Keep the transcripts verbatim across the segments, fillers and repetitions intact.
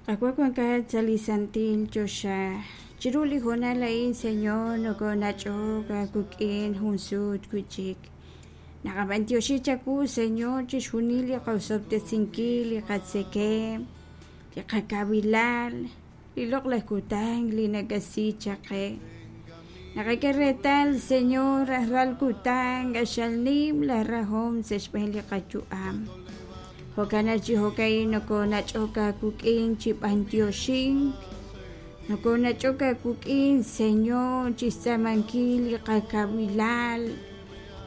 Qaawa' wankat sa' li santil choxa, chiru li hoonal a'in, Señor, nokonach'ok aawik'in jun sut wi'chik. Naqab'antioxi chawu, Señor, chixjunil li qosob'tesinkil, li qatzekemq, li qakawilal, li loq'laj kutan li nakasi chaq qe. Naqak'e reetal, Señor, rajlal kutan q'axal nim la rajom sa' xb'een li qayu'am. Jo'kan naq chi jo'ka'in nokonach'ok aawik'in chi b'antioxink, nokonach'ok aawik'in, Señor, chixtz'aamankil li qakawilal,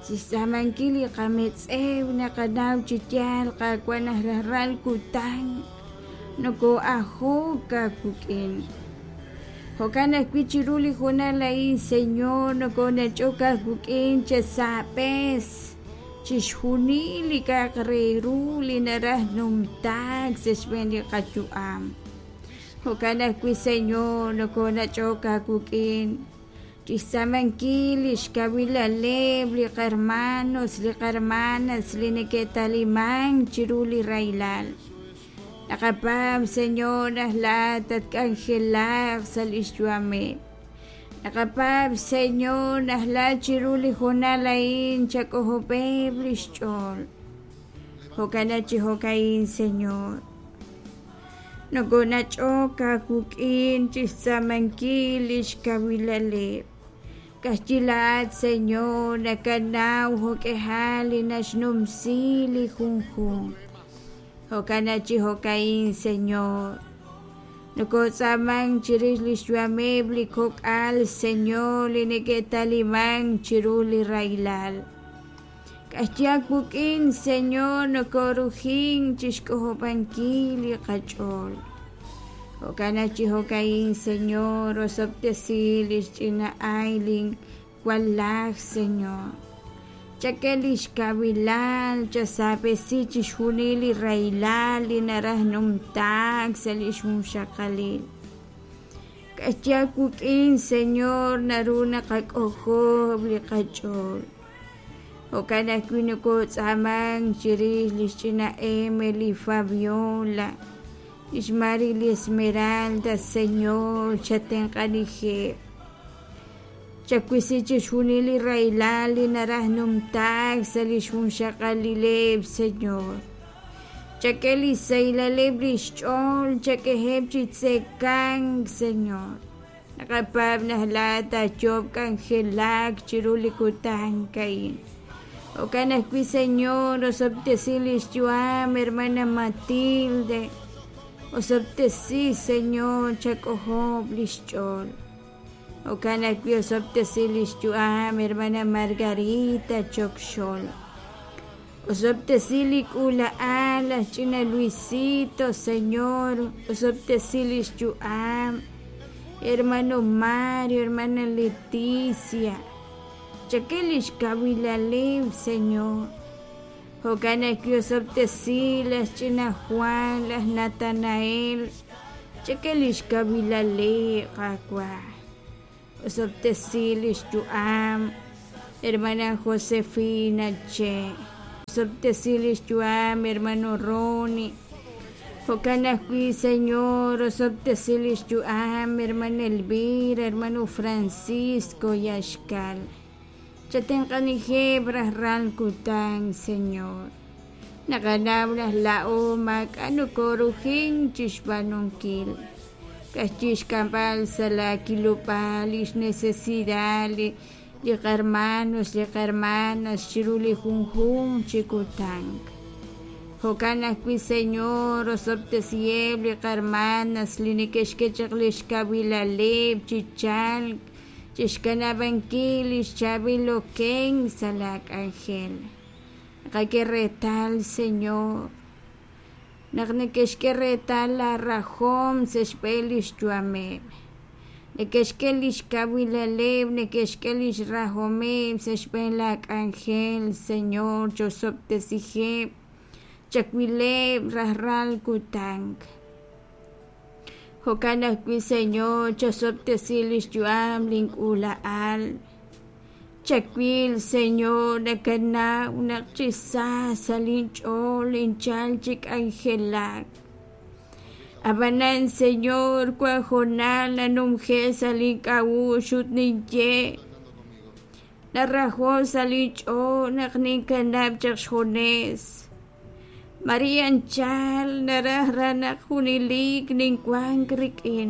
chixtz'aamankil li qametz'ew. Naqanaw chi yaal, Qaawa', naq rajlal kutan noko'ajok aawik'in. Jo'kan ajwi' chiru li hoonal a'in, Señor, nokonach'ok aawik'in chasaab'es chixjunil li k'a'aq re ru li naraj numtaak sa' xb'een li qayu'am. Jo'kan ajwi', Señor, nokonach'ok aawik'in chixtz'aamankil li xkawilaleb' li qarmanos, li qarmanas li neke'talimank chiru li rahilal. Naqapaab', Señor, naq laa'at tatk'anjelaq sa' lix yu'ameb'. Naqapaab', Señor, naq laa'at chiru li hoonal a'in chak'ojob'eb' lix ch'ool. Jo'kan naq chi jo'ka'in, Señor, nokonach'ok aawik'in chixtz'aamankil lix kawilaleb'. Ka'ajwi' laa'at, Señor, nakanaw jo'k'ihal li naxnumsi li junjunq. Jo'kan naq chi jo'ka'in, Señor, nokotz'aamank chirix lix yu'ameb' li kok'al, Señor, li neke'talimank chiru li rahilal. Ka'ajwi' aawik'in, Señor, nokorujink chixk'ojob'ankil li qach'ool. Jo'kan naq chi jo'ka'in, Señor, osob'tesi lix ch'ina Aylin walaj, Señor. Chak'e lix kawilal, chasaab'esi chixjunil li rahilal li naraj numtaak sa' lix junxaqalil. Ka'ajwi' aawik'in, Señor, naru naqak'ojob' li qach'ool. Jo'kan ajwi' nokotz'aamank chirix lix ch'ina Emily Fabiola, lix Marily Esmeralda, Señor, chatenq'anijeb'. Chawisi chixjunil li rahilal li naraj numtaak sa' lix junxaqalileb', Señor. Chak'e li sahilaleb' lix ch'ool, chak'eheb' chi tzekank, Señor. Naqapaab' naq laa'at taayoob' k'anjelak chiru li kutan a'in. Jo'kan ajwi', Señor, osob'tesi lix yu'am, hermana Matilde. Osob'tesi, Señor, chak'ojob' lix ch'ool. Jo'kan ajwi' osob'tesi lix yu'am, hermana Margarita Chokxol. Osob'tesi li k'uula'al laj ch'ina Luisito, Señor, osob'tesi lix yu'am, hermano Mario, hermana Leticia. Chak'e lix kawilaleb', Señor. Jo'kan ajwi' osob'tesi laj ch'ina Juan, laj Natanael. Chak'e lix kawilaleb', Qaawa'. Osob'tesi lix yu'am, hermana Josefina Che. Osob'tesi lix yu'am, hermano Ronnie. Jo'kan ajwi', Señor, osob'tesi lix yu'am, hermana Elvira, hermano Francisco Yaxkal. Chatenq'anijeb' rajlal kutan, Señor. Naqanaw naq laa'o maak'a' nokorujink chixb'aanunkil. Ka'ajwi' xk'amb'al sa' la kilob'aal lix necesidad li li qarmanos, li qarmanas chiru li junjunq chi kutan. Jo'kan ajwi', Señor, osob'tesiheb' li qarmanas li neke'xk'e chaq lix kawilaleb' chi chalk chixkanab'ankil lix chaab'il okenk sa' la k'anjel. Naqak'e reetal, Señor, naq neke'xk'e reetal la rajom sa' xb'een lix yu'ameb'. Neke'xk'e lix kawilaleb', neke'xk'e lix rajomeb' sa' xb'een la k'anjel, Señor, chosob'tesiheb', chawileb' rajlal kutan. Jo'kan ajwi', Señor, chosob'tesi lix yu'am link'uula'al. Chawil, Señor, nakanaw naq chi sa sa' linch'ool ninchal chi k'anjelak. Ab'anan, Señor, wan hoonal nanumje' sa' link'a'uxl ut ninye: Naraho' sa' linch'ool naq ninkanab' chaq xjunes. Mare anchal naraj raj naq junelik ninwank rik'in.